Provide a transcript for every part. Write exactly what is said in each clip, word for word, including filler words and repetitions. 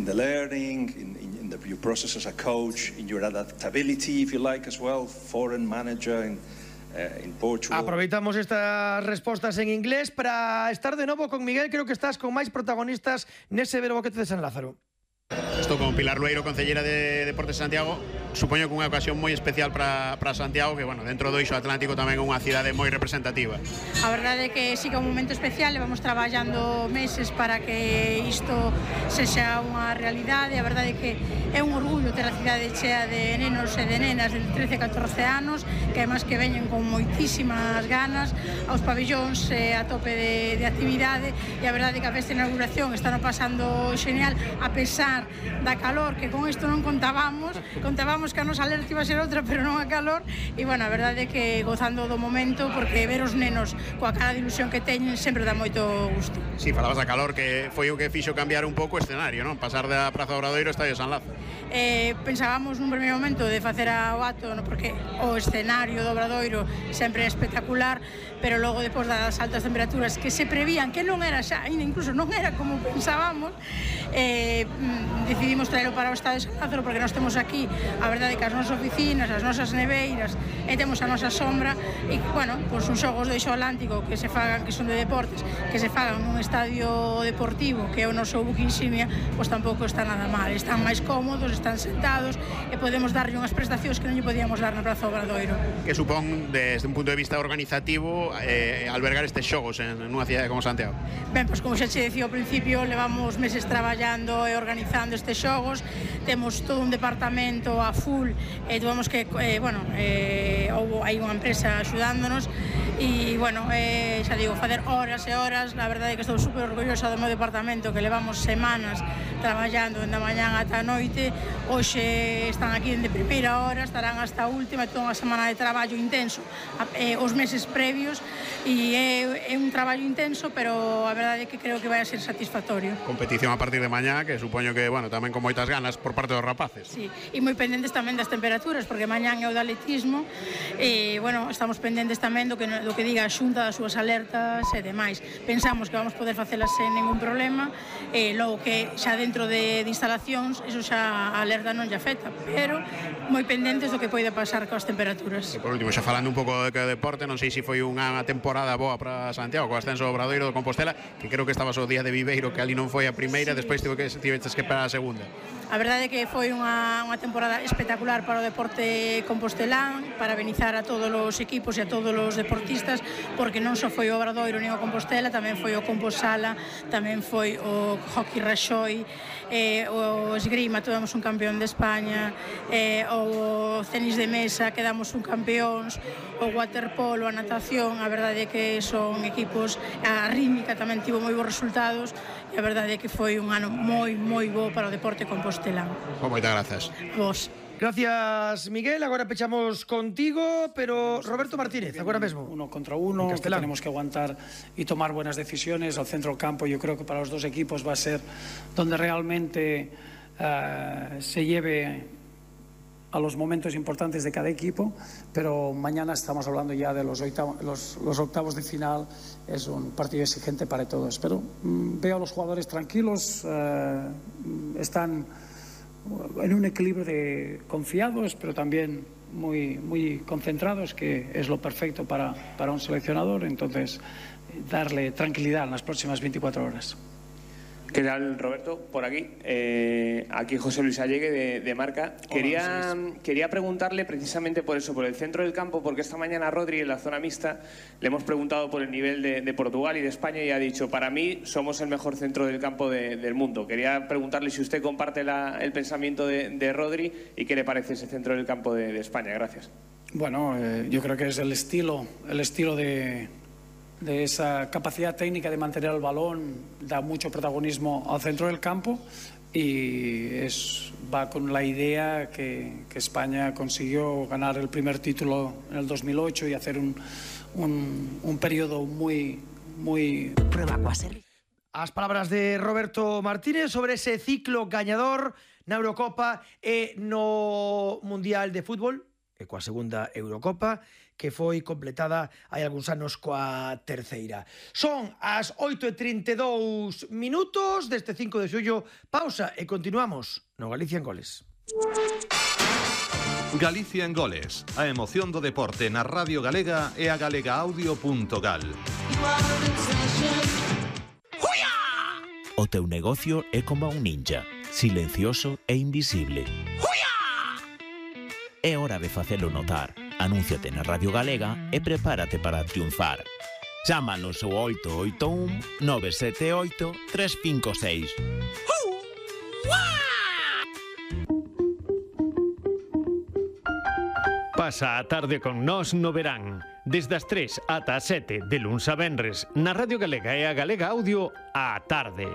in the learning, in, in, in the, your process as a coach, in your adaptability, if you like, as well, foreign manager in, uh, in Portugal. Aproveitamos estas respostas en inglés para estar de novo con Miguel. Creo que estás con máis protagonistas nese Verbo Boquete de San Lázaro. Estou con Pilar Lueiro, concelleira de Deportes de Santiago. Supoño que unha ocasión moi especial para, para Santiago, que, bueno, dentro do Eixo Atlántico tamén é unha cidade moi representativa. A verdade é que sí que é un momento especial, levamos traballando meses para que isto sexa unha realidade. A verdade é que é un orgullo ter a cidade chea de nenos e de nenas de trece a catorce anos, que además que veñen con moitísimas ganas aos pabillóns eh, a tope de, de actividade, e a verdade é que a festa de inauguración está no pasando xeñal, a pesar da calor, que con isto non contábamos, contábamos que a nosa alerta iba a ser outra, pero non a calor, e, bueno, a verdade é que gozando do momento, porque ver os nenos coa cara de ilusión que teñen sempre dá moito gusto. Si, sí, falabas da calor, que foi o que fixo cambiar un pouco o escenario, non? Pasar da Praza do Obradoiro ao Estadio San Lázaro. Eh, pensábamos nun primeiro momento de facer o acto, no, porque o escenario do Obradoiro sempre é espectacular, pero logo, depois das altas temperaturas que se prevían, que non era xa, incluso non era como pensábamos, eh, decidimos traelo para o Estadio San Lázaro, porque nós temos aquí, a verdade, que as nosas oficinas, as nosas neveiras, e temos a nosa sombra, e, bueno, pois uns xogos do Eixo Atlántico que se fagan, que son de deportes, que se fagan nun estadio deportivo, que é o noso buque insignia, pois tampouco está nada mal, están máis cómodos, están sentados, e podemos darlle unhas prestacións que non lle podíamos dar na Praza do Obradoiro. Que supón, desde un punto de vista organizativo, eh, albergar estes xogos en, en unha cidade como Santiago? Ben, pois como xa che decía ao principio, levamos meses traballando e organizando estes xogos, temos todo un departamento a full, e tuvemos que, eh, bueno, eh, houve, hai unha empresa axudándonos, e, bueno, eh, xa digo, facer horas e horas. La verdade é que estou super orgullosa do meu departamento, que levamos semanas traballando da mañán ata a noite. Hoxe están aquí de primeira hora, estarán hasta a última, toda unha semana de traballo intenso, eh, os meses previos, e é, é un traballo intenso, pero a verdade é que creo que vai a ser satisfactorio. Competición a partir de mañá, que supoño que, bueno, tamén con moitas ganas por parte dos rapaces. Sí, e moi pendentes tamén das temperaturas, porque mañán é o de atletismo, e, bueno, estamos pendentes tamén do que, do que diga a Xunta das súas alertas e demais. Pensamos que vamos poder facelas sen ningún problema, e logo que xa dentro de, de instalacións, eso xa a alerta non lle afecta, pero moi pendentes do que pode pasar coas temperaturas. E por último, xa falando un pouco de que deporte, non sei se foi unha temporada boa para Santiago, co ascenso do Obradoiro do Compostela, que creo que estabas o día de Viveiro, que ali non foi a primeira, sí. Despois tive que tiveches que para a segunda. A verdade é que foi unha, unha temporada espectacular para o deporte compostelán, para benizar a todos os equipos e a todos os deportistas, porque non só foi o Obradoiro nin o Compostela, tamén foi o Composala, tamén foi o Hockey Raxoi, eh, o esgrima, tivemos un campeón de España, eh, o tenis de mesa, quedamos un campeóns, o waterpolo, a natación. A verdade é que son equipos, a rítmica tamén tivo moi bons resultados, e a verdade é que foi un ano moi, moi bo para o deporte compostelán. Pues moitas grazas. Vos. Gracias, Miguel. Agora pechamos contigo, pero Roberto Martínez, agora mesmo. Uno contra uno, que tenemos que aguantar y tomar buenas decisiones. Al centro del campo yo creo que para los dos equipos va a ser donde realmente uh, se lleve a los momentos importantes de cada equipo, pero mañana estamos hablando ya de los, oitavo, los, los octavos de final. Es un partido exigente para todos, pero mmm, veo a los jugadores tranquilos, uh, están en un equilibrio de confiados, pero también muy, muy concentrados, que es lo perfecto para, para un seleccionador. Entonces, darle tranquilidad en las próximas veinticuatro horas. ¿Qué tal, Roberto? Por aquí. Eh, aquí José Luis Allegue, de, de Marca. Quería, Hola, quería preguntarle precisamente por eso, por el centro del campo, porque esta mañana a Rodri, en la zona mixta, le hemos preguntado por el nivel de, de Portugal y de España, y ha dicho, para mí somos el mejor centro del campo de, del mundo. Quería preguntarle si usted comparte la, el pensamiento de, de Rodri y qué le parece ese centro del campo de, de España. Gracias. Bueno, eh, yo creo que es el estilo, el estilo de... de esa capacidad técnica de mantener el balón, da mucho protagonismo al centro del campo, y es, va con la idea que, que España consiguió ganar el primer título en el dos mil ocho y hacer un, un, un periodo muy, muy... As palabras de Roberto Martínez sobre ese ciclo gañador na Eurocopa e no Mundial de Fútbol, e coa segunda Eurocopa, que foi completada hai algúns anos coa terceira. Son as oito e trinta e dous minutos deste cinco de xullo. Pausa e continuamos no Galicia en Goles. Galicia en Goles, a emoción do deporte na Radio Galega e a galegaaudio punto gal. O teu negocio é como un ninja, silencioso e invisible. É hora de facelo notar. Anúnciate na Radio Galega e prepárate para triunfar. Chámanos ao oito oito un nove sete oito tres cinco seis. Pasa a tarde con nós no verán. Desde as tres ata as sete de luns a venres na Radio Galega e a Galega Audio á tarde.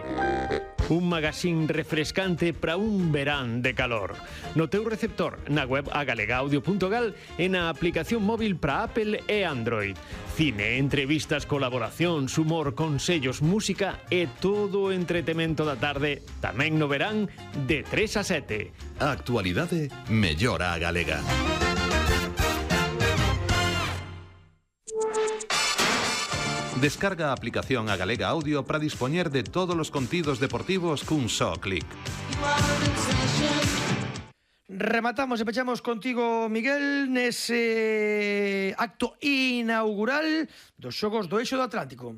Un magazín refrescante para un verán de calor. No teu receptor, na web a galegaaudio punto gal e na aplicación móvil para Apple e Android. Cine, entrevistas, colaboracións, humor, consellos, música e todo o entretemento da tarde tamén no verán de tres a sete. A actualidade mellora a galega. Descarga a aplicación a Galega Audio para dispoñer de todos os contidos deportivos cun só clic. Rematamos e pechamos contigo, Miguel, nese acto inaugural dos Xogos do Eixo do Atlántico.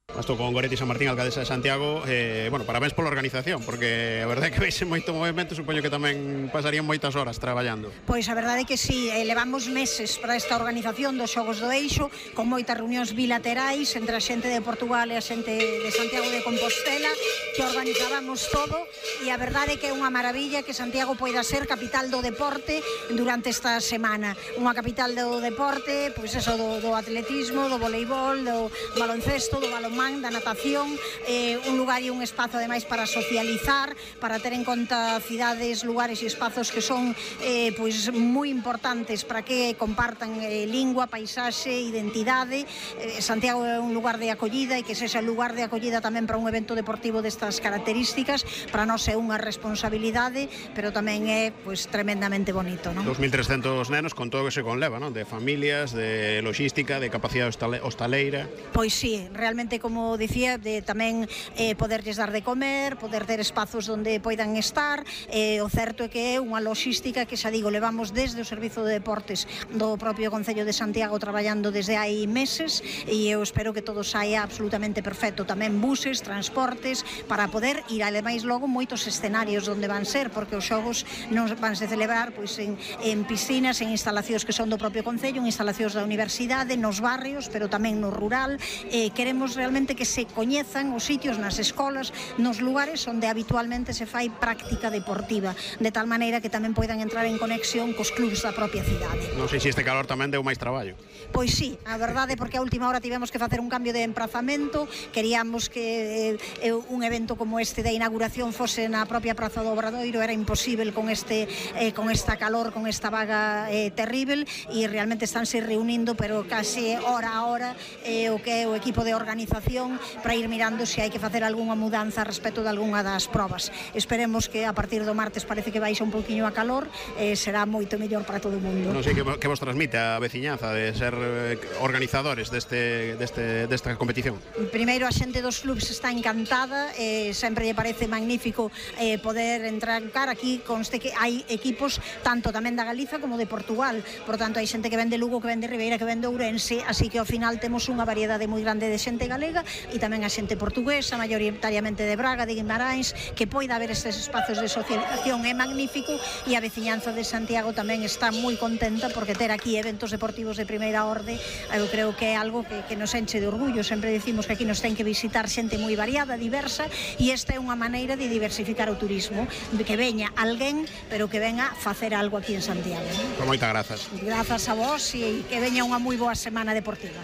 Estou con Goretti San Martín, alcaldesa de Santiago. eh, Bueno, parabéns pola organización, porque a verdade é que veise moito movimento. Supoño que tamén pasarían moitas horas traballando. Pois a verdade é que sí, eh, levamos meses para esta organización dos Xogos do Eixo, con moitas reunións bilaterais entre a xente de Portugal e a xente de Santiago de Compostela, que organizábamos todo, e a verdade é que é unha maravilla que Santiago poida ser capital do deporte durante esta semana. Unha capital do deporte, pois eso, do, do atletismo, do voleibol, do baloncesto, do balonmán, da natación, eh, un lugar e un espazo ademais para socializar, para ter en conta cidades, lugares e espazos que son eh, pois moi importantes para que compartan eh, lingua, paisaxe, identidade. eh, Santiago é un lugar de acollida e que sexa lugar de acollida tamén para un evento deportivo destas características, para nós é unha responsabilidade, pero tamén é pois tremendamente bonito, non? dos mil trescentos nenos con todo o que se conleva, non? De familias, de logística, de capacidade hostaleira. Pois sí, realmente, como dicía, de tamén eh, poderlles dar de comer, poder ter espazos onde poidan estar. eh, O certo é que é unha logística que, xa digo, levamos desde o Servizo de Deportes do propio Concello de Santiago traballando desde hai meses, e eu espero que todo saia absolutamente perfecto. Tamén buses, transportes, para poder ir ademais logo moitos escenarios onde van ser, porque os xogos non van se celebrar pois en, en piscinas, en instalacións que son do propio Concello, en instalacións da universidade, nos barrios, pero tamén no rural. eh, Queremos realmente que se coñezan os sitios nas escolas, nos lugares onde habitualmente se fai práctica deportiva, de tal maneira que tamén poidan entrar en conexión cos clubs da propia cidade. Non sei se este calor tamén deu máis traballo. Pois sí, a verdade, porque a última hora tivemos que facer un cambio de emprazamento. Queríamos que eh, un evento como este da inauguración fose na propia Praza do Obradoiro, era imposible con este eh, con esta calor, con esta vaga eh, terrible, e realmente estánse reunindo, pero case hora a hora, eh, o que é o equipo de organización para ir mirando se hai que facer algunha mudanza respecto de algunha das probas. Esperemos que a partir do martes parece que baixa un pouquiño a calor, e eh, será moito mellor para todo o mundo. Non sei que, que vos transmite a veciñanza de ser eh, organizadores deste, deste, desta competición. Primeiro, a xente dos clubs está encantada, eh, sempre lle parece magnífico eh, poder entrar aquí. Conste que hai equipos tanto tamén da Galiza como de Portugal, por tanto hai xente que ven de Lugo, que ven de Ribeira, que ven de Ourense, así que ao final temos unha variedade moi grande de xente galega e tamén a xente portuguesa, maioritariamente de Braga, de Guimarães, que poida haber estes espazos de socialización é magnífico, e a veciñanza de Santiago tamén está moi contenta porque ter aquí eventos deportivos de primeira orde, eu creo que é algo que, que nos enche de orgullo. Sempre decimos que aquí nos ten que visitar xente moi variada, diversa, e esta é unha maneira de diversificar o turismo, de que veña alguén, pero que venga a facer algo aquí en Santiago. Con moitas grazas. Grazas a vos, e que veña unha moi boa semana deportiva.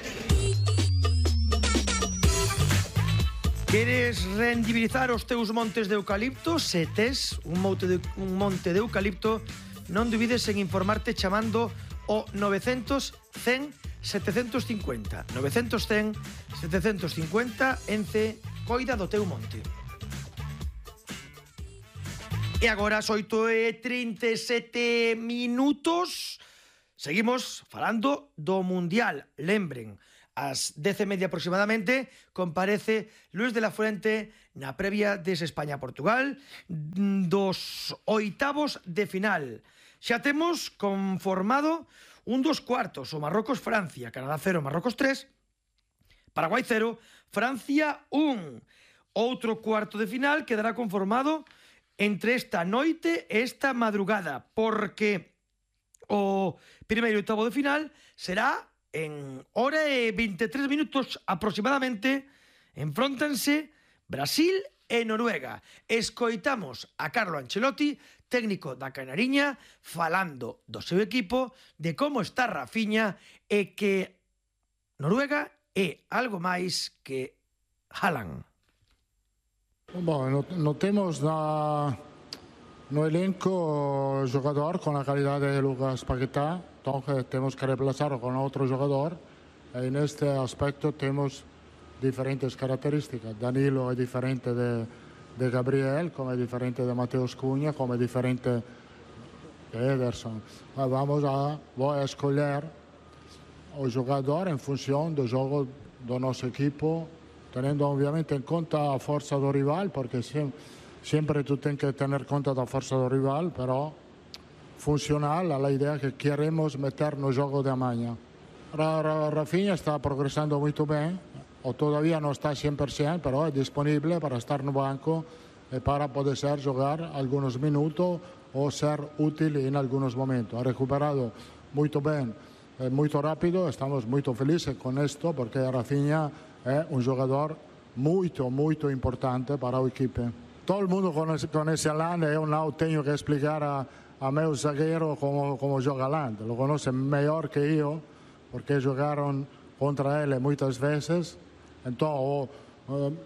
Queres rendibilizar os teus montes de eucalipto? Se tes un monte de, un monte de eucalipto, non dubides en informarte chamando o novecientos cen setecentos cincuenta. novecientos cen setecentos cincuenta, Ence coida do teu monte. E agora as oito e trinta e sete minutos. Seguimos falando do Mundial. Lembren, ás dez e media aproximadamente comparece Luis de la Fuente na previa des España-Portugal dos oitavos de final. Xa temos conformado un dos cuartos, o Marrocos-Francia, Canadá cero, Marrocos tres, Paraguai cero, Francia un. Outro cuarto de final quedará conformado entre esta noite e esta madrugada, porque o primeiro oitavo de final será en hora e veintitrés minutos aproximadamente. Enfróntanse Brasil e Noruega. Escoitamos a Carlo Ancelotti, técnico da Canariña, falando do seu equipo, de como está Rafinha e que Noruega é algo máis que Haaland. Bom, notemos na, no elenco jogador con la calidad de Lucas Paquetá, entonces tenemos que reemplazarlo con otro jugador. En este aspecto tenemos diferentes características. Danilo es diferente de, de Gabriel, como es diferente de Mateus Cunha, como es diferente de Ederson. Vamos a, voy a escoger o jogador en función do jogo do nosso equipo, teniendo obviamente en conta a forza do rival, porque sempre, sempre tu tens que tener conta da forza do rival, pero funcional a la idea que queremos meter no jogo de amanhã. Rafinha está progresando muito bem, ou todavía não está cem por cento, pero é disponível para estar no banco e para poder ser jogar alguns minutos ou ser útil em alguns momentos. Ha recuperado muito bem, é muito rápido, estamos muito felizes com isto, porque Rafinha é um jogador muito, muito importante para a equipe. Todo mundo conhece Haaland, eu não tenho que explicar a, a meu zagueiro como, como joga Haaland. Lo conoce melhor que eu, porque jogaram contra ele muitas vezes. Então, uh,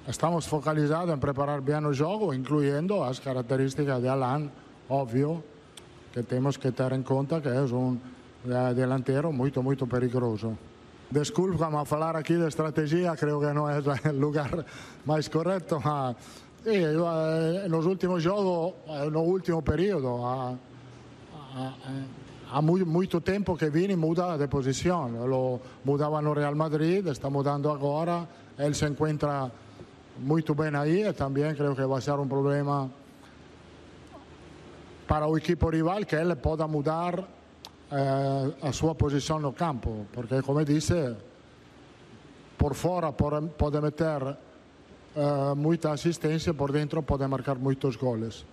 estamos focalizados em preparar bem o jogo, incluindo as características de Haaland, óbvio, que temos que ter em conta que é um delantero muito, muito perigoso. Desculpa-me a falar aqui de estratégia, creio que não é o lugar mais correto, mas sim, nos últimos jogos, no último período, há, há, há muito, muito tempo que Vini muda de posição. Lo mudava no Real Madrid, está mudando agora, ele se encontra muito bem aí e também creio que vai ser um problema para o equipo rival que ele possa mudar Eh, a sua posição no campo, porque como disse, por fora pode meter eh, muita assistência, por dentro pode marcar muitos goles.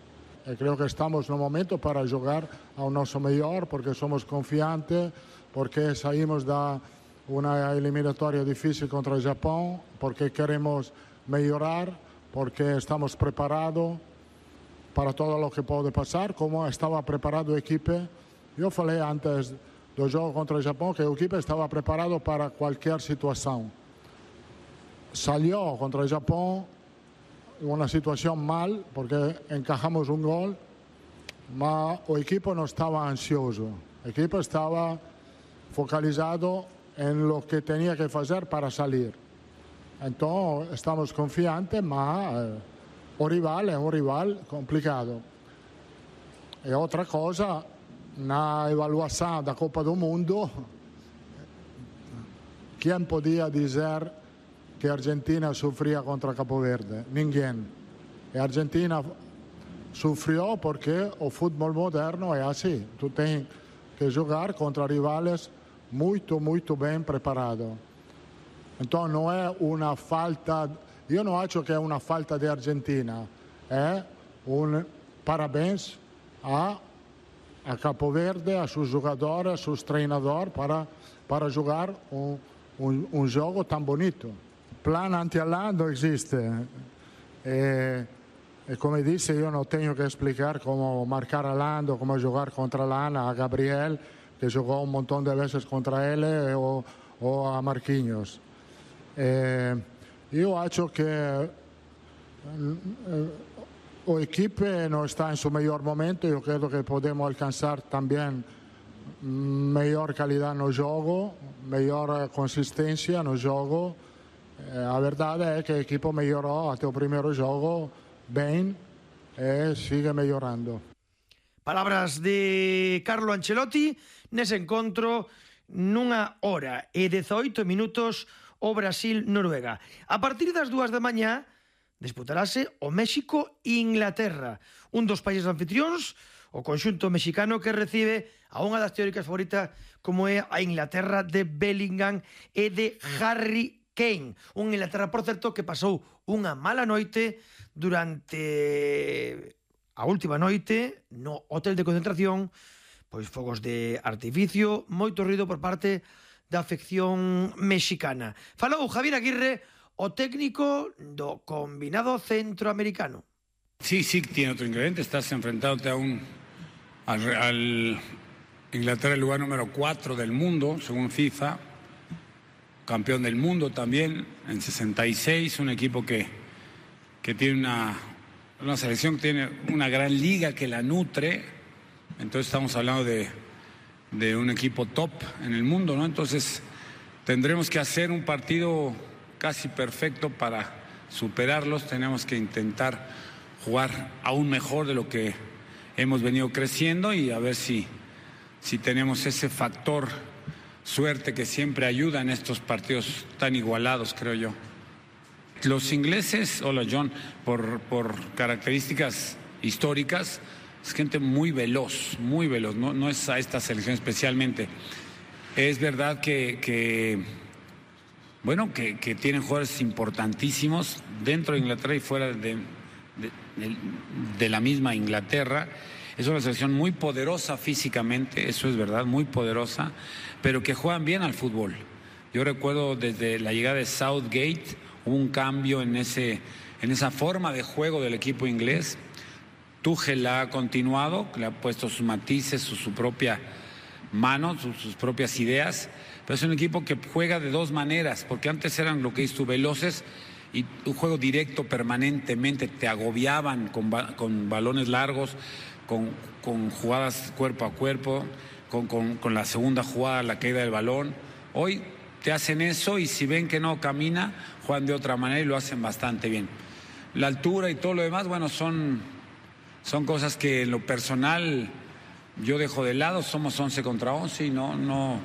E creio que estamos no momento para jogar ao nosso melhor, porque somos confiantes, porque saímos da uma eliminatória difícil contra o Japão, porque queremos melhorar, porque estamos preparados para todo o que pode passar, como estava preparado a equipe. Eu falei antes do jogo contra o Japão que a equipe estava preparada para qualquer situação. Salió contra o Japão uma situação mal, porque encajamos um gol, mas o equipo não estava ansioso. O equipo estava focalizado em lo que tinha que fazer para sair. Então, estamos confiantes, mas eh, o rival é um rival complicado. E outra coisa, na avaliação da Copa do Mundo, quem podia dizer que a Argentina sofria contra Cabo Verde? Ninguém. E a Argentina sofreu porque o futebol moderno é assim. Tu tens que jogar contra rivais muito, muito bem preparados. Então não é uma falta, eu não acho que é uma falta de Argentina, é um parabéns a a Cabo Verde, a seus jogadores, a seus treinadores para, para jogar um, um, um jogo tão bonito. Plano anti-Haaland não existe. E, e como disse, eu não tenho que explicar como marcar Haaland ou como jogar contra Haaland a Gabriel, que jogou um montão de vezes contra ele, ou, ou a Marquinhos. E, eu acho que a equipe não está em seu melhor momento. Eu creio que podemos alcançar também melhor qualidade no jogo, melhor consistência no jogo. A verdade é que a equipe melhorou até o primeiro jogo bem e sigue melhorando. Palabras de Carlo Ancelotti nese encontro nunha hora e dezaoito minutos o Brasil-Noruega. A partir das dúas da mañá disputarase o México-Inglaterra, un dos países anfitrións, o conxunto mexicano que recibe a unha das teóricas favoritas como é a Inglaterra de Bellingham e de Harry Kane. Un Inglaterra, por certo, que pasou unha mala noite durante a última noite no hotel de concentración, pois fogos de artificio, moito ruido por parte da afección mexicana. Falou Javier Aguirre, o técnico do combinado centroamericano. Sí, sí, tiene otro ingrediente. Estás enfrentándote a un al, al Inglaterra, el lugar número cuatro del mundo, según FIFA, campeón del mundo también en sesenta y seis, un equipo que, que tiene una, una selección que tiene una gran liga que la nutre. Entonces estamos hablando de, de un equipo top en el mundo, ¿no? Entonces tendremos que hacer un partido casi perfecto para superarlos. Tenemos que intentar jugar aún mejor de lo que hemos venido creciendo y a ver si, si tenemos ese factor suerte que siempre ayuda en estos partidos tan igualados, creo yo. Los ingleses, hola John, por, por características históricas, es gente muy veloz, muy veloz, no, no es a esta selección especialmente. Es verdad que, que bueno, que, que tienen jugadores importantísimos dentro de Inglaterra y fuera de, de, de, de la misma Inglaterra. Es una selección muy poderosa físicamente, eso es verdad, muy poderosa, pero que juegan bien al fútbol. Yo recuerdo desde la llegada de Southgate, hubo un cambio en, ese, en esa forma de juego del equipo inglés. Tuchel la ha continuado, le ha puesto sus matices, su, su propia mano, sus, sus propias ideas, pero es un equipo que juega de dos maneras, porque antes eran lo que dices tú, veloces y un juego directo permanentemente, te agobiaban con, con balones largos, con, con jugadas cuerpo a cuerpo, con, con, con la segunda jugada, la caída del balón. Hoy te hacen eso y si ven que no camina, juegan de otra manera y lo hacen bastante bien. La altura y todo lo demás, bueno, son... Son cosas que en lo personal yo dejo de lado, somos once contra once y no, no,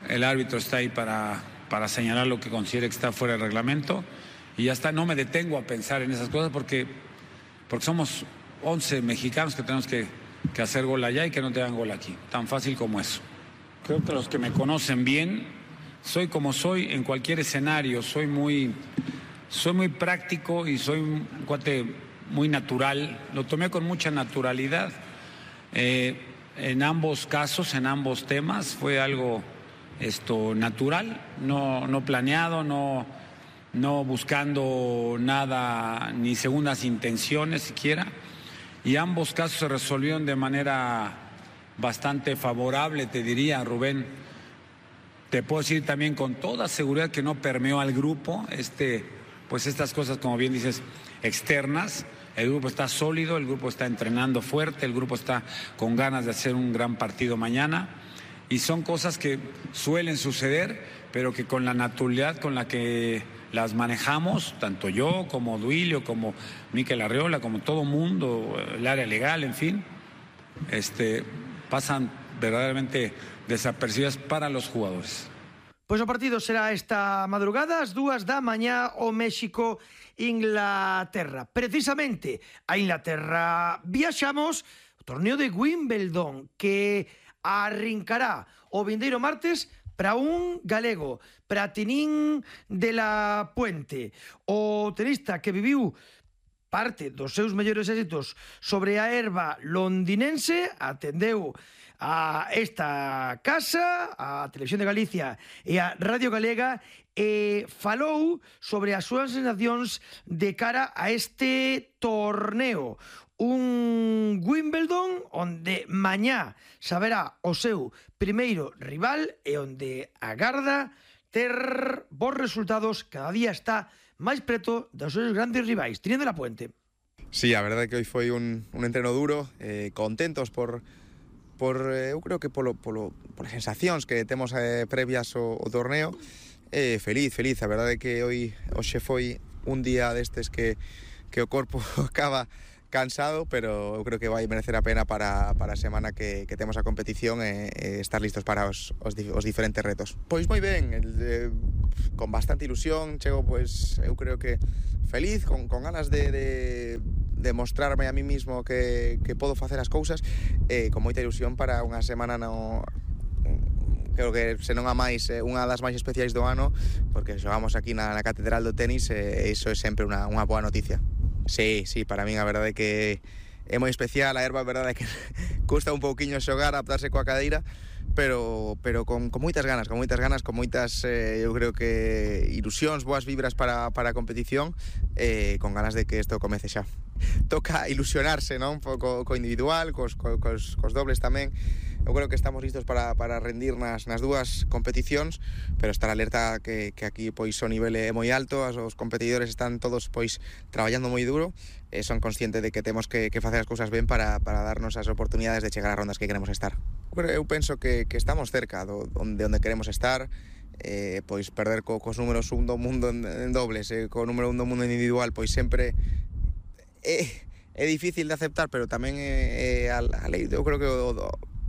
el árbitro está ahí para, para señalar lo que considere que está fuera del reglamento y ya está, no me detengo a pensar en esas cosas porque, porque somos once mexicanos que tenemos que, que hacer gol allá y que no te hagan gol aquí, tan fácil como eso. Creo que los que me conocen bien, soy como soy en cualquier escenario, soy muy, soy muy práctico y soy un cuate muy natural, lo tomé con mucha naturalidad. Eh, en ambos casos, en ambos temas, fue algo esto, natural, no, no planeado, no, no buscando nada, ni segundas intenciones siquiera. Y ambos casos se resolvieron de manera bastante favorable, te diría, Rubén. Te puedo decir también con toda seguridad que no permeó al grupo, este, pues estas cosas, como bien dices, externas. El grupo está sólido, el grupo está entrenando fuerte, el grupo está con ganas de hacer un gran partido mañana y son cosas que suelen suceder, pero que con la naturalidad con la que las manejamos, tanto yo como Duilio, como Mikel Arriola, como todo mundo, el área legal, en fin, este, pasan verdaderamente desapercibidas para los jugadores. Pois o partido será esta madrugada ás dúas da mañá o México-Inglaterra. Precisamente a Inglaterra viaxamos o torneo de Wimbledon que arrincará o vindeiro martes para un galego, para Tinín de la Puente, o tenista que viviu parte dos seus mellores éxitos sobre a herba londinense, atendeu a esta casa, a Televisión de Galicia e a Radio Galega e falou sobre as súas sensacións de cara a este torneo. Un Wimbledon onde mañá saberá o seu primeiro rival e onde agarda ter bons resultados, cada día está máis preto dos seus grandes rivais. Tinín de la Puente. Sí, a verdade que hoy foi un, un entreno duro, eh, contentos por por eh, eu creo que polo, polo, por sensacións que temos eh, previas ao, ao torneo, eh, feliz, feliz, a verdade que hoy hoxe foi un día destes que, que o corpo acaba cansado, pero eu creo que vai merecer a pena para, para a semana que, que temos a competición e, e estar listos para os, os, os diferentes retos. Pois moi ben, el, eh, con bastante ilusión, chego, pois, eu creo que feliz, con, con ganas de, de, de mostrarme a mí mismo que, que podo facer as cousas, e con moita ilusión para unha semana no... creo que se non a máis, eh, unha das máis especiais do ano, porque xogamos aquí na, na Catedral do Tenis e iso é sempre unha, unha boa noticia. Sí, sí, para min a verdade é que é moi especial, a erva a verdade é que custa un pouquiño xogar, adaptarse coa cadeira, pero, pero con, con moitas ganas, con moitas ganas, con moitas, eh, eu creo que ilusións, boas vibras para, para a competición, eh, con ganas de que isto comece xa. Toca ilusionarse, non? Co, co individual, cos, co, cos, cos dobles tamén. Eu creo que estamos listos para, para rendir nas, nas dúas competicións, pero estar alerta que, que aquí pois o nivel é moi alto, os competidores están todos pois traballando moi duro, e son consciente de que temos que, que facer as cousas ben para, para darnos as oportunidades de chegar ás rondas que queremos estar. Eu penso que, que estamos cerca do, onde, onde queremos estar, eh, pois perder co, cos números un do mundo en, en dobles, e co número un do mundo individual, pois sempre é, é difícil de aceptar, pero tamén é, é a, a lei, eu creo que o, o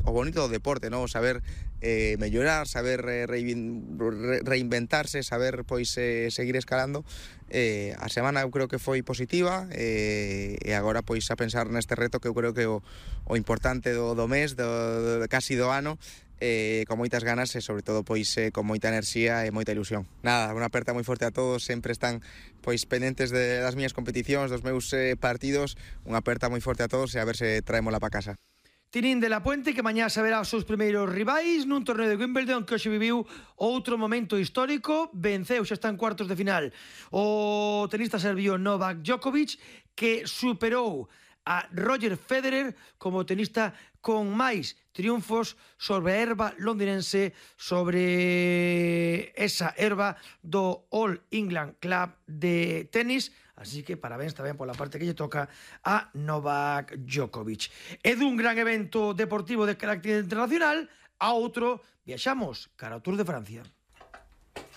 o bonito do deporte, ¿no? Saber eh, mellorar, saber eh, reinventarse, saber pois eh, seguir escalando. Eh, a semana eu creo que foi positiva, eh, e agora pois a pensar neste reto que eu creo que o, o importante do, do mes, do, do, casi do ano, eh, con moitas ganas e sobre todo pois eh, con moita enerxía e moita ilusión. Nada, unha aperta moi forte a todos, sempre están pois pendentes de, das miñas competicións, dos meus eh, partidos, unha aperta moi forte a todos e a ver se traémola para casa. Tinín de la Puente, que mañá saberá os seus primeiros rivais nun torneo de Wimbledon que hoxe viviu outro momento histórico, venceu, xa está en cuartos de final o tenista serbio Novak Djokovic, que superou a Roger Federer como tenista con máis triunfos sobre a herba londinense, sobre esa herba do All England Club de tenis. Así que parabéns tamén pola parte que lle toca a Novak Djokovic. É dun gran evento deportivo de carácter internacional a outro, viaxamos cara ao Tour de Francia.